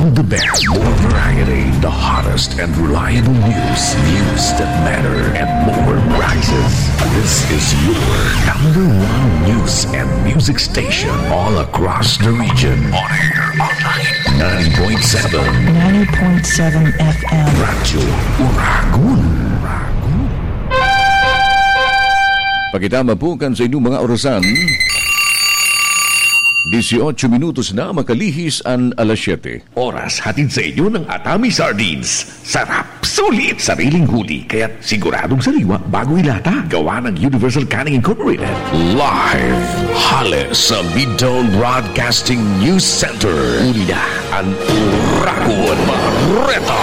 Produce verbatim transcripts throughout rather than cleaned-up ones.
The best, more variety, the hottest and reliable news, news that matter, and more prices. This is your number one news and music station all across the region. On air, online, ninety point seven. Ninety point seven F M. Radyo Uragon. Pakitama po kan sa inyong mga orasan. Dieciocho minutos na makalihis an alas siyete. Oras hatid sa inyo ng Atami Sardines. Sarap, sulit, sariling huli, kaya't siguradong sariwa bago ilata. Gawa ng Universal Canning Incorporated. Live, hale sa Midtown Broadcasting News Center. Uli na an Uragon Bareta.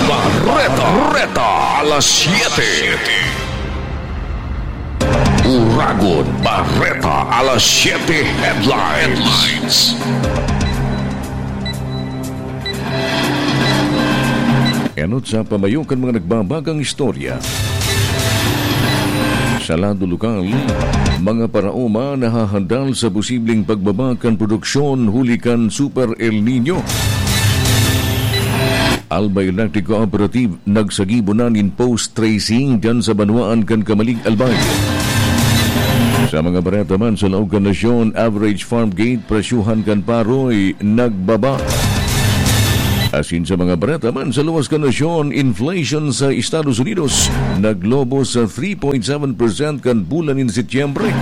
Bareta. Bareta. Alas siyete. Uragon Bareta, alas siyete headlines. Enot sa pamayo kan mga nagbabagang istorya. Sa lado lokal, mga paraoma nahahandal sa posibleng pagbaba kan produksyon huli kan Super El Nino. Alba Electric Cooperative nagsagibo na nin post tracing diyan sa banwaan kan Camalig, Albay. Sa mga bareta man sa laog kan nasyon, average farm gate presyuhan kan paroy nagbaba. Asin sa mga bareta man sa luwas kan nasyon, inflation sa Estados Unidos naglobo sa three point seven percent kan bulan nin Setyembre.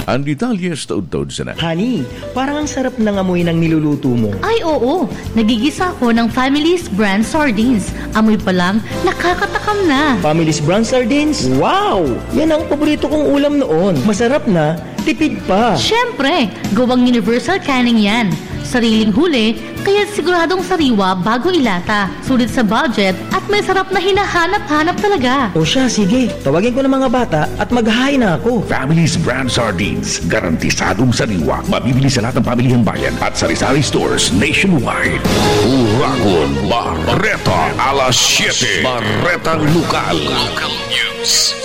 Ang detalye sa taod-taod sana. Honey, parang ang sarap ng amoy ng niluluto mo. Ay, oo. Nagigisa ako ng Family's Brand Sardines. Amoy pa lang, nakakatakam na. Family's Brand Sardines? Wow! Yan ang paborito kong ulam noon. Masarap na, tipid pa. Siyempre, gawang universal canning yan. Sariling huli, kaya siguradong sariwa bago ilata. Sulit sa budget at may sarap na hinahanap-hanap talaga. O siya, sige. Tawagin ko ng mga bata at maghahain na ako. Family's Brand Sardines. Garantisadong sariwa. Mabibili sa lahat ng pamilihang bayan at sari-sari stores nationwide. Uragon Bareta, alas siyete. Baretang Lokal. Local News.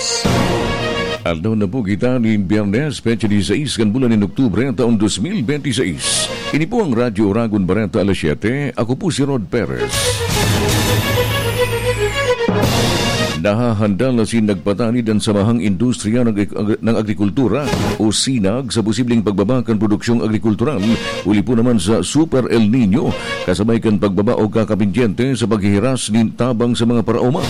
Aldaw na po kita nin Biyernes, petsa disisais kan bulan nin Oktubre, taon dos mil benti sais. Ini po ang Radyo Uragon Bareta, alas siyete. Ako po si Rod Perez. Nahahandal na sin nagpatanid an Samahang Industriya ng Ag-, ng Agrikultura o sinag sa posibleng pagbaba kan produksyong agrikultural, huli po naman sa Super El Nino, kasabay kan pagbaba o kakapendyente sa paghihiras nin tabang sa mga paraoma.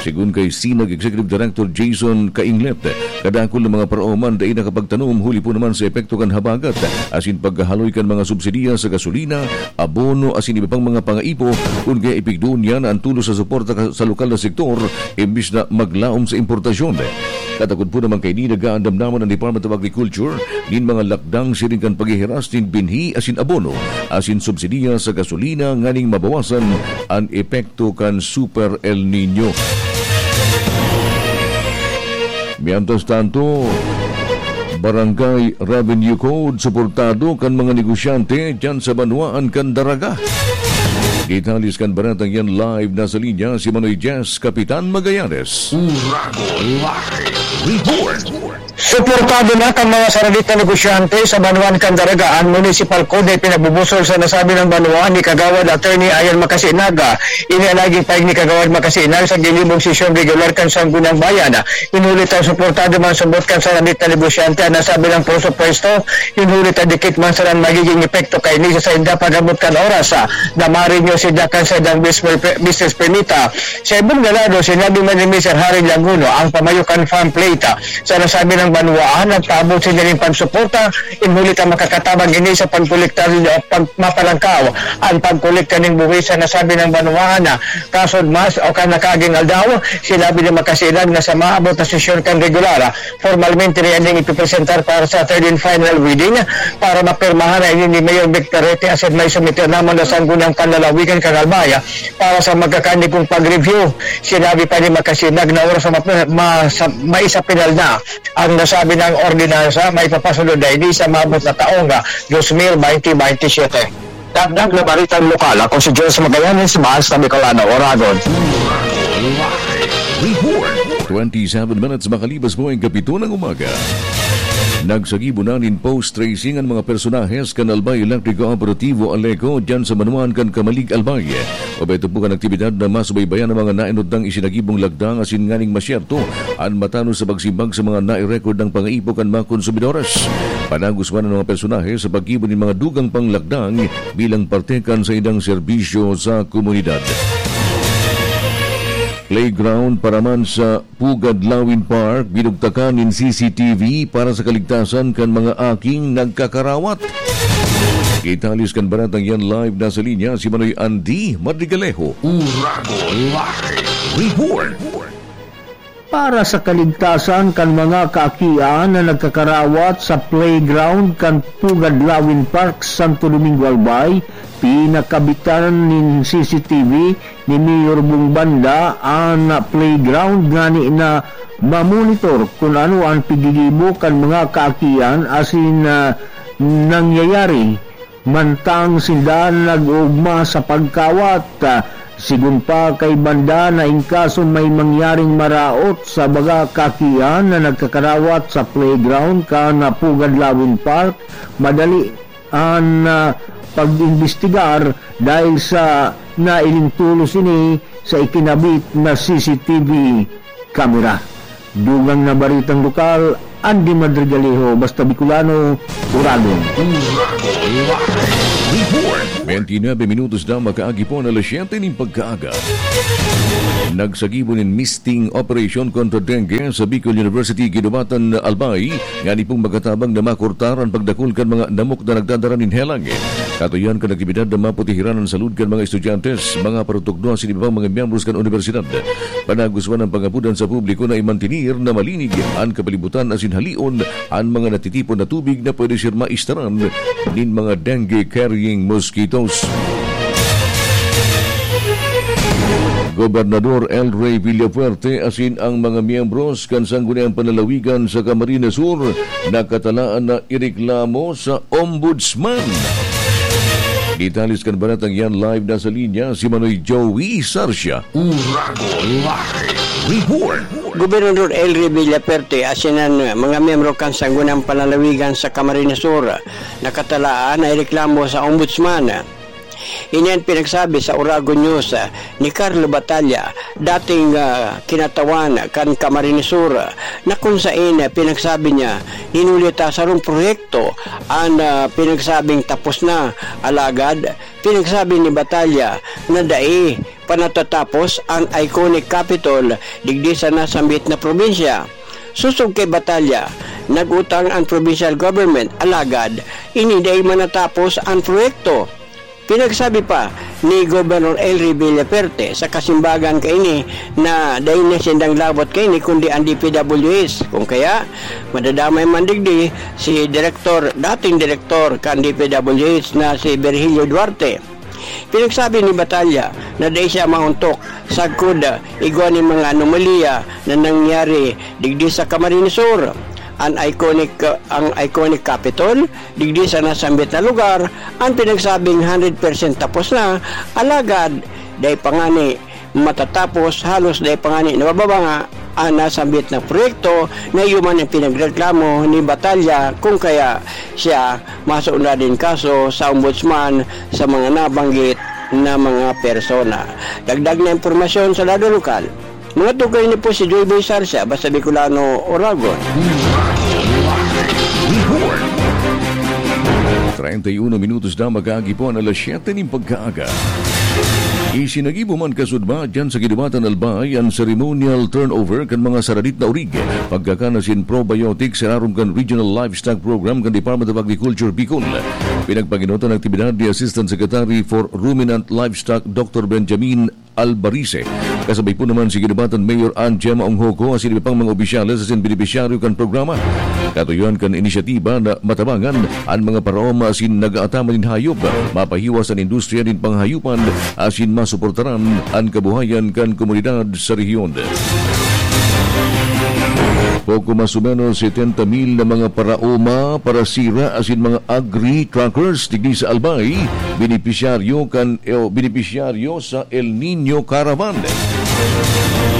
Segun kay sinag Executive Director Jason Kainglet, kadakul na mga paraoma an dai nakapagtanom huli po naman sa epekto kan habagat, asin paghahaloy kan mga subsidiya sa gasolina, abono, asin iba pang mga pangaipo, kun kaya ipigdoon niya na ang tulos sa suporta ka-, sa lokal na sektor, imbis na maglaom sa importasyon. Katakod po naman kaini, nag-aandam naman ang Department of Agriculture nin mga lakdang siring kan paghihiras nin binhi asin abono, asin subsidiya sa gasolina nganing mabawasan an epekto kan Super El Nino. Mientras tanto, Barangay Revenue Code suportado kan mga negosyante diyan sa banwaan kan Daraga. Detalles kan baretang yan, live na sa linya si Manoy Jess, Kapitan Magallanes. Uragon Live Report. Suportado na kan mga saradit na negosyante sa banwaan kan Daraga an Municipal Code na ipinabubusol sa nasabing banwaan ni Kagawad Attorney Ayan Makasinaga. Ini an naging pahayag ni Kagawad Makasinaga sa ginibong sesyon regular kan Sangguniang Bayan. Hinuli ta suportado man subot kan saradit na negosyante an nasabing presupuesto. Hinuli ta dikit man sana an magiging epekto kaini sa sainda pag-abot kan oras, ah, na ma-renew sinda kan saindang business per-, business permit, ah. Sa ibong na lado, sinabi man ni Mister Harry Languno, ang pamayo kan farm plate, ah, sa nasabing banwaan, nagpaabot sinda nin pagsuporta, hinuli ta makakatabang ini sa pagkolektar, ah, pag-, mapalangkaw ang pagkolekta nin buhis sa nasabing banwaan, ah, kasod mas o kan nakaaging aldaw. Sinabi ni Makasinaga na sa maabot na sesyon kan regular, ah, formalmente na ining ipipresentar para sa third and final reading para mapirmahan na ini ni Mayor Vic Perete asin maisumite naman na Sangguniang Panlalawigan kan Albay para sa magkakanigong pag-review. Sinabi pa ni Makasinaga na oras na map-, ma-, sa, maisapinal na ang nasabing ordinansa, maipapasunod na ini sa maabot na taong, ah, dos mil benti benti siyete. Dagdag na baretang lokal, ako si Jose Magallanes, Basta Bicolano, Oragon. Report. Twenty-seven minutes makalipas po ang kapito ng umaga. Nagsagibo na nin post tracing an mga personahes kan Albay Electric Cooperativo, Aleco, diyan sa Manuan kan Camalig, Albay. Obheto po kan aktibidad na masubaybayan ang mga nainutdang isinagibong lagdang asin nganing masyerto an matanos sa pagsimbag sa mga nai-record na pangaipo kan mga konsumidores. Panagos man an mga personahe sa paggibo nin mga dugang panglagdang bilang parte kan saindang serbisyo sa komunidad. Playground para man sa Pugad Lawin Park, binugtakan nin C C T V para sa kaligtasan kan mga aking nagkakarawat. Italis kan baratang yan live na sa linya si Manoy Andy Madrigalejo. Uragon Live Report. Para sa kaligtasan kan mga kaakian na nagkakarawat sa playground kan Pugad Lawin Park, Santo Domingo, Albay, pinakabitan nin C C T V ni Mayor Bong Banda an playground ngani na mamonitor kun ano an piggigibo kan mga kaakian asin, ah, nangyayari mantang sinda nag-oogma sa pagkawat. Ah, sigon pa kay Banda na in kaso may mangyaring maraot sa mga kaakian na nagkakarawat sa playground kan Pugad Lawin Park, madali an, ah, pag-imbestigar dahil sa nailing tolos ini sa ikinabit na C C T V kamera. Dugang na baritang lokal, Andy Madrigalejo, Basta Bicolano, Uragon. Uragon Live Report. Twenty-nine minutos na makaagi po na alas siyete nin pagkaaga. Nagsagibo nin misting operation kontra dengue sa Bicol University, Guinobatan, Albay, ngani pong makatabang na makurtar an pagdakul kan mga namok na nagdadara nin helang. Katuyan kan aktibidad na maputihiran an salud kan mga estudyante, mga parutugno asin iba pang mga miyembros kan unibersidad. Panagos man an pangapodan sa publiko na imantinir na malinig an kapalibutan asin halion an mga natitipon na tubig na pwede siya maistaran nin mga dengue-carrying mosquitoes. Gobernador El Rey Villafuerte asin ang mga miyembros kan Sangguniang Panlalawigan sa Camarines Sur nakatalaan na ireklamo sa Ombudsman. Detalye kan baratang yan live na sa linya si Manoy Joey Sarcia. Uragon Live Report. Gobernador El Rey Villafuerte asin an mga miyembro kan Sangguniang Panlalawigan sa Camarines Sur nakatalaan na ireklamo sa Ombudsman. Ini an pinagsabi sa Uragon News, ah, ni Carlo Batalla, dating, ah, kinatawan kan Camarines Sur, na kung sain, ah, pinagsabi niya, hinuli ta sarong proyekto an, ah, pinagsabing tapos na. Alagad, pinagsabi ni Batalla na dai pa natatapos an iconic Capitol digdi sa nasambit na probinsya. Sosog kay Batalla, nag-utang an provincial government, alagad ini dai man natapos an proyekto. Pinagsabi pa ni Gobernador El Rey Villafuerte sa kasimbagan kaini na dai na sindang labot kaini kundi ang D P W H. Kung kaya, madadamay man digdi si direktor, dating direktor kan D P W H na si Virgilio Duarte. Pinagsabi ni Batalla na dai siya maontok sagkod igwa nin mga anomalya na nangyari digdi sa Camarines Sur. An iconic, ang iconic Capitol, digdi sa nasambit na lugar, an pinagsabing hundred percent tapos na, alagad dai pa ngani matatapos, halos dai pa ngani nabababanga an nasambit na proyekto na iyo man ang pinagreklamo ni Batalla, kung kaya siya masundan nin kaso sa ombudsman sa mga nabanggit na mga persona. Dagdag na impormasyon sa lado lokal. Mga tukoy ni po si Joy Boy Sarsia, Basta Bicolano, Oragon. Report. Treinta y uno minutos na makaagi po ang alas siyete nin pagkaaga. Isinagibo man kasudma dyan sa Guinobatan, Albay an ceremonial turnover kan mga saradit na orig, pagkakan asin probiotics sa larom kan Regional Livestock Program kan Department of Agriculture, Bicol. Pinagpaginot an aktibidad ni Assistant Secretary for Ruminant Livestock, Doctor Benjamin Albarise. Kasabay po naman si Guinobatan Mayor Ann Gemma Onghoco asin iba pang mga opisyales asin benepisyaryo kan programa. Katuyohan kan inisyatiba na matabangan an mga paraoma asin nag-aataman nin hayop, mapahiwas an industriya nin panghahayopan asin masuportaran an kabuhayan kan komunidad sa rehiyon. Poco mas o menos setenta mil na mga paraoma, parasira asin mga agri-truckers digdi sa Albay, benepisyaryo kan, eh, benepisyaryo sa El Niño Caravan.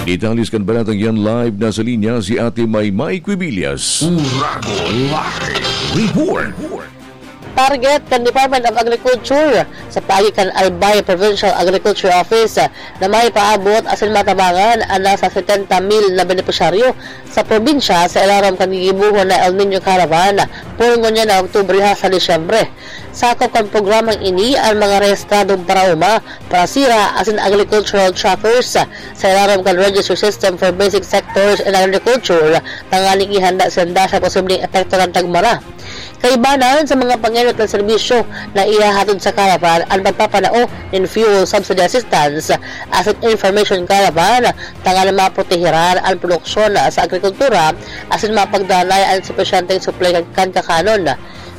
Detalles kan balatang yan, live na sa linya si Ate Maymay Quibillas. Uragon Live Report. Target kan Department of Agriculture sa paagi kan Albay Provincial Agriculture Office na may paabot asin matabangan an nasa setenta mil na benepisyaryo sa probinsya sa ilarom kan gigibohon na El Niño Caravan, poon ngunyan na Oktubre hasta Disyembre. Sakop kan programang ini an mga rehistradong paraoma, parasira asin agricultural trackers sa ilarom kan Registry System for Basic Sectors in Agriculture, tanganing ihanda sinda sa posibleng epekto kan tagmara. Kaibanan sa mga pangenot na serbisyo na ihahatod sa caravan, an pagpapanao nin fuel subsidy assistance asin information caravan, tanganing maprotehiran an produksyon sa agrikultura asin mapagdanay an supisyenteng supply kan, kan kakanon.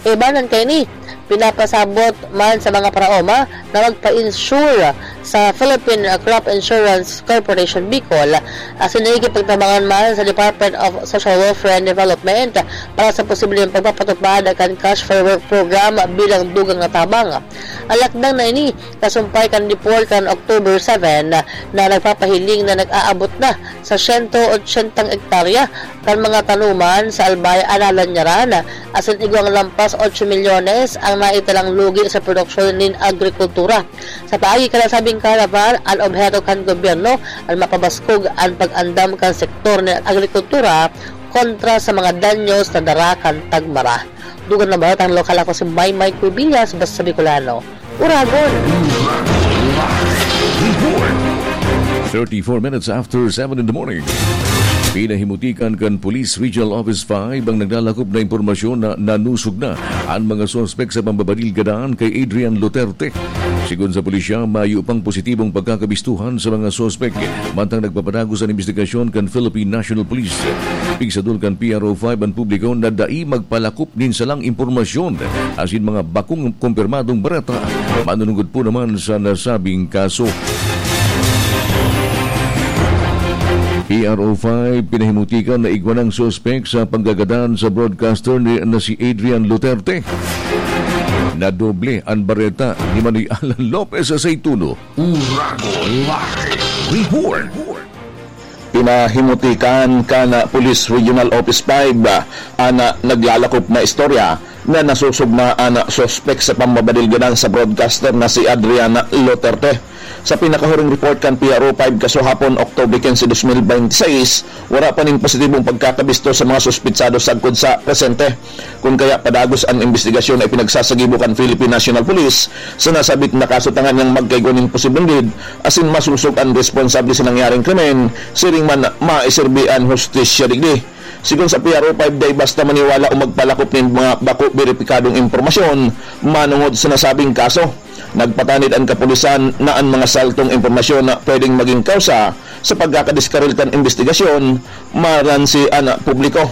Ibanan kaini, pinapasabot man sa mga paraoma na magpa-insure sa Philippine Crop Insurance Corporation Bicol, asin nakikipagtabangan man sa Department of Social Welfare and Development para sa posibleng pagpapatupad kan Cash for Work Program bilang dugang na tabang. Ang lakdang na ini kasumpay kan report kan October seven na nagpapahiling na nag-aabot na sa siyento otsentang ektarya kan mga tanuman sa Albay an nalanyaran, asin igwang lampas otso milyones ang naitalang lugi sa produksyon nin agrikultura. Sa paagi kan nasabing caravan, an obheto kan gobyerno an mapabaskog an pag-andam kan sektor nin agrikultura kontra sa mga danyos na dara kan tagmara. Dugang na balatang lokal, ako si Maymay Cubillas, basta Bicolano. Uragon! Thirty-four minutes after seven in the morning. Pinahimutikan kan Police Regional Office five ang naglalakop na impormasyon na nanusog na an mga suspek sa pambabadil gadan kay Adrian Luterte. Sigon sa pulisya, mayo pang positibong pagkakabistuhan sa mga suspek, mantang nagpapadagos an imbestigasyon kan Philippine National Police. Pigsadol kan P R O five an publiko na dai magpalakop nin salang impormasyon asin mga bakong kumpirmadong bareta manunungod po naman sa nasabing kaso. P R O five, pinahimutikan na igwa nang suspek sa panggagadan sa broadcaster ni, na si Adrian Luterte. Nadoble an bareta ni Manoy Alan Lopez sa Saituno. Uragon Live Report. Pinahimutikan kan Police Regional Office five an naglalakop na istorya na nasusog na an suspek sa pambabadil gadan sa broadcaster na si Adrian Luterte. Sa pinakahuring report kan P R O five kasuhapon, Oktubre quince, dos mil bente seis, wala pa nin positibong pagkakabisto sa mga suspitsado sagkod sa presente. Kun kaya, padagos an imbestigasyon na ipinagsasagibo kan Philippine National Police sa nasabit na kaso tanganing magkaigwa nin posibleng lead asin masusog an responsable sa nangyaring krimen, siring man maiserbi an hustisya digdi. Sigon sa P R O five, dai basta maniwala o magpalakop nin mga bako beripikadong impormasyon manongod sa nasabing kaso. Nagpatanid an kapulisan na an mga saltong impormasyon na pwedeng magin kawsa sa pagkakadiskaril kan imbestigasyon maransi an publiko,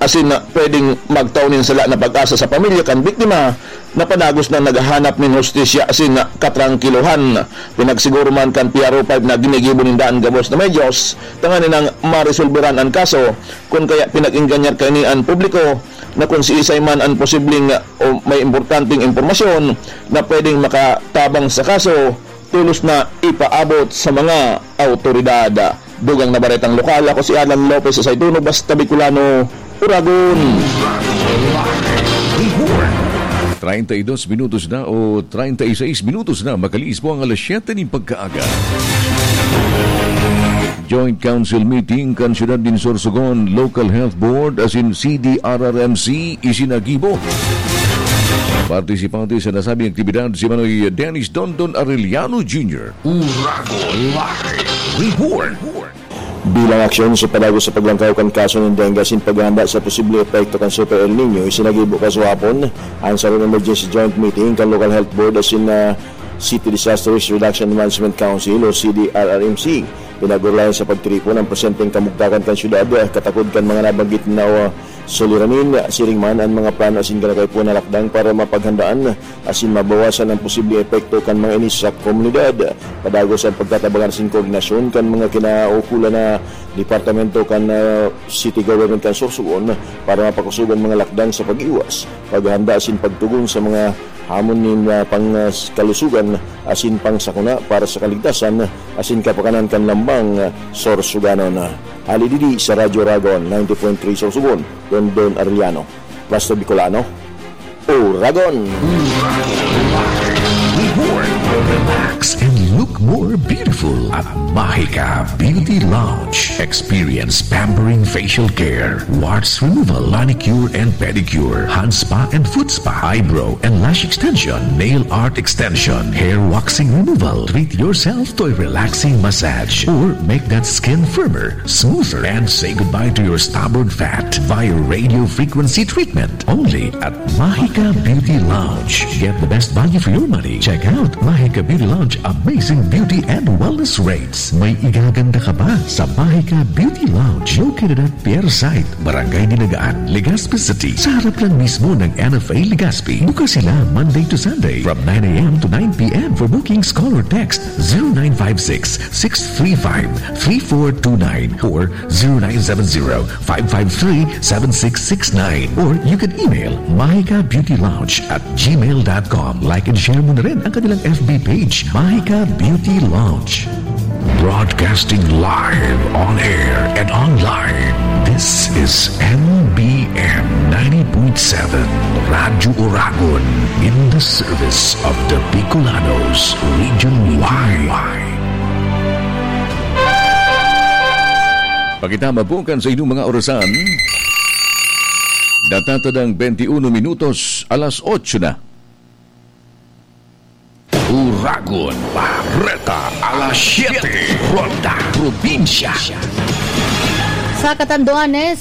asin na pwedeng magtao nin sala na pag-asa sa pamilya kan biktima na padagos na naghahanap nin hustisya asin katrangkilohan. Pinagsiguro man kan P R O five na ginigibo ninda an gabos na medyos tanganing maresolberan an kaso, kun kaya pinag-engganyar kaini an publiko na kun siisay man an posibleng o may importanteng impormasyon na pwedeng makatabang sa kaso, tolos na ipaabot sa mga awtoridad. Dugang na baretang lokal, ako si Alan Lopez sa Saituno, basta Bicolano, Uragon. Treinta y dos minutos na o treinta y seis minutos na, makalihis po ang alas siyete nin pagkaaga. Joint Council Meeting kan Siyudad nin Sorsogon, Local Health Board asin C D R R M C isinagibo. Partisipante sa nasabing aktibidad si Manoy Dennis Dondon Arellano Junior. Uragon Live Report. Bilang aksyon sa padagos sa paglangkaw kan kaso nin dengue asin paghahanda sa posibleng epekto kan Super El Niño, isinagibo kasuhapon an sarong emergency joint meeting kan Local Health Board asin, ah, City Disaster Risk Reduction Management Council o C D R R M C. Pinag-orolayan sa pagtiripon ang presenteng kamugtakan kan syudad, katakod kan mga nabanggit na, ah, suliranin, siring man an mga plano asin gana kaipuhan na lakdang para mapaghandaan asin mabawasan ang posibleng epekto kan mga ini sa komunidad. Padagos ang pagtatabangan asin koordinasyon kan mga kinaukulan na departamento kan, ah, city government kan Sorsogon para mapakusog an mga lakdang sa pag-iwas, paghahanda asin pagtugon sa mga hamon nin, ah, pang, ah, kalusugan asin pangsakuna para sa kaligtasan asin kapakanan kan Mang Sorsoganon, hali didi sa Radyo Ragon, ninety point three Sorsogon, Dondon Arellano. Basta Bicolano, Uragon! Reward, relax, and look more beautiful at Mahika Beauty Lounge. Experience pampering facial care, warts removal, manicure and pedicure, hand spa and foot spa, eyebrow and lash extension, nail art extension, hair waxing removal. Treat yourself to a relaxing massage or make that skin firmer, smoother, and say goodbye to your stubborn fat via radio frequency treatment. Only at Mahika Beauty Lounge. Get the best value for your money. Check out Mahika Beauty Lounge amazing beauty and wellness rates. May igaganda ka ba sa Mahika Beauty Lounge? Located at Pier Site, Barangay Dinagaan, Legazpi City. Sa harap lang mismo ng N F A Legazpi. Bukas sila Monday to Sunday from nine a m to nine p m. For bookings, call or text zero nine five six, six three five, three four two nine or zero nine seven zero, five five three, seven six six nine. Or you can email mahika beauty lounge at gmail dot com. Like and share mo na rin ang kanilang F B page, Mahika Beauty Lounge. Broadcasting live, on air, and online. This is M B M ninety point seven Radyo Uragon, in the service of the Bicolanos, Region Y. Pakitama po kan sa inyong mga orasan. Natatadang twenty-uno minutos, alas otso na. Uragon, Bareta, alas siyete, Ronda, Probinsya. Sa Catanduanes,